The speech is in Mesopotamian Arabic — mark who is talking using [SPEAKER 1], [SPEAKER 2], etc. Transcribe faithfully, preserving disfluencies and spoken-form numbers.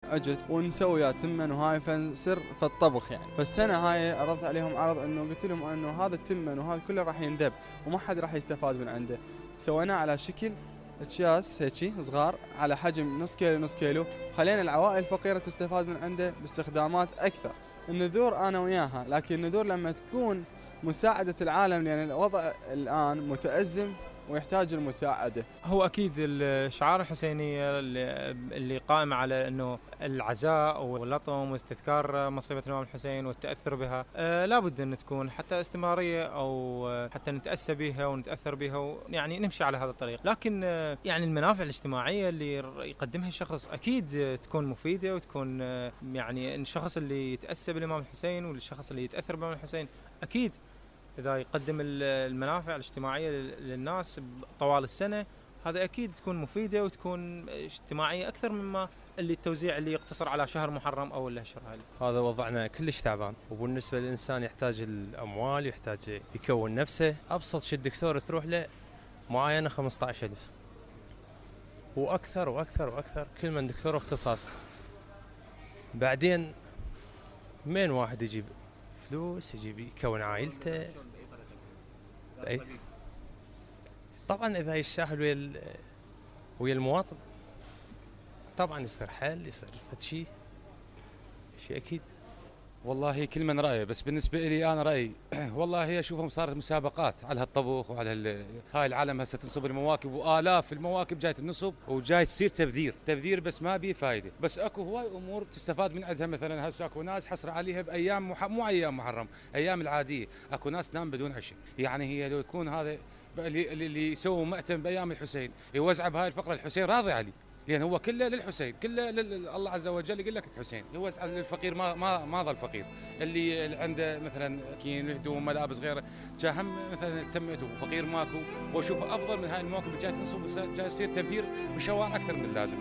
[SPEAKER 1] عجل ونسوي وياه تمن وهاي فنسر في الطبخ يعني. فالسنة هاي عرضت عليهم عرض انه قلت لهم انه هذا التمن وهذا كله راح ينذب وما حد راح يستفاد من عنده. سويناه على شكل اكياس هيجي صغار على حجم نص كيلو نص كيلو، خلينا العوائل الفقيرة تستفاد من عنده باستخدامات اكثر. النذور انا وياها، لكن النذور لما تكون مساعدة العالم لان الوضع الان متأزم ويحتاج المساعدة.
[SPEAKER 2] هو أكيد الشعار الحسينية اللي قائمة على أنه العزاء واللطم واستذكار مصيبة الإمام الحسين والتأثر بها أه لابد أن تكون حتى استمرارية أو حتى نتأسى بها ونتأثر بها، يعني نمشي على هذا الطريق. لكن أه يعني المنافع الاجتماعية اللي يقدمها الشخص أكيد تكون مفيدة وتكون أه يعني الشخص اللي يتأسى بالإمام الحسين والشخص اللي يتأثر بالإمام الحسين أكيد إذا يقدم المنافع الاجتماعية للناس طوال السنة هذا أكيد تكون مفيدة وتكون اجتماعية أكثر مما اللي التوزيع اللي يقتصر على شهر محرم أو الأشهر هذه.
[SPEAKER 3] هذا وضعنا كلش تعبان، وبالنسبة للإنسان يحتاج الأموال، يحتاج يكون نفسه. أبسط شيء الدكتور تروح له معاينة خمسة عشر ألف وأكثر وأكثر وأكثر، كل من دكتور اختصاصه. بعدين من واحد يجيب فلوس يجيب يكون عائلته. أي طبعا إذا يستاهل ويا ويا المواطن طبعا يصير حل، يصير فد شيء شيء أكيد.
[SPEAKER 4] والله كل من رأيه، بس بالنسبة لي أنا رأيي والله هي أشوفهم صارت مسابقات على هالطبخ وعلى هاي العالم هسه تنصب المواكب وآلاف المواكب جاي تنصب وجاي تصير تبذير تبذير بس ما بيه فايدة. بس اكو هواي أمور تستفاد من عندها، مثلا هسه اكو ناس حصر عليها بأيام مح... مو أيام محرم، أيام العادية اكو ناس تنام بدون عشاء. يعني هي لو يكون هذا اللي اللي يسووا مأتم بأيام الحسين يوزع بهاي الفقرة الحسين راضي عليه، لأن هو كله للحسين، كله الله عز وجل يقول لك الحسين. يوزع للفقير ما ما ما ظل فقير، اللي عنده مثلا كين هدوم ملابس غيره جاهم مثلا تمته فقير ماكو. واشوفه افضل من هاي المواكب اللي جاي تنصب جاي يصير تبذير بالشوارع اكثر من اللازم.